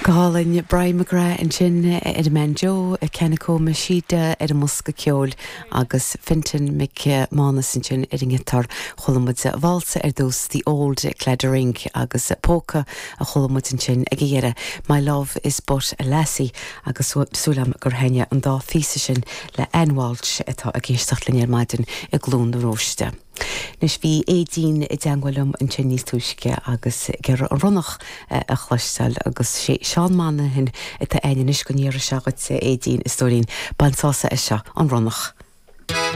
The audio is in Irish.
Go hálainn, Brian McGrath ansin ar an mbanjo, Kanako Machida ar an mbosca ceoil agus Fintan Mac Mánais ansin ar an ngiotár. Chuala muid válsa ar dtús, The Old Claddagh Ring agus polca a chuala muid ansin ag a dheireadh, My Love is But a Lassie agus súil agam gur thaitnigh an dá phíosa sin le Ann Walsh atá ag éisteacht linn ar maidin i gCluain na Róiste. Anois bhí Aedín i dteangmháil liom ansin níos túisce agus ag iarraidh an ronnach a chloisteáil agus sé Seán Monaghan atá againn anois go n-iarrfaidh sé dhuit, a Aedín, a stóirín, bain sásamh as seo, an ronnach.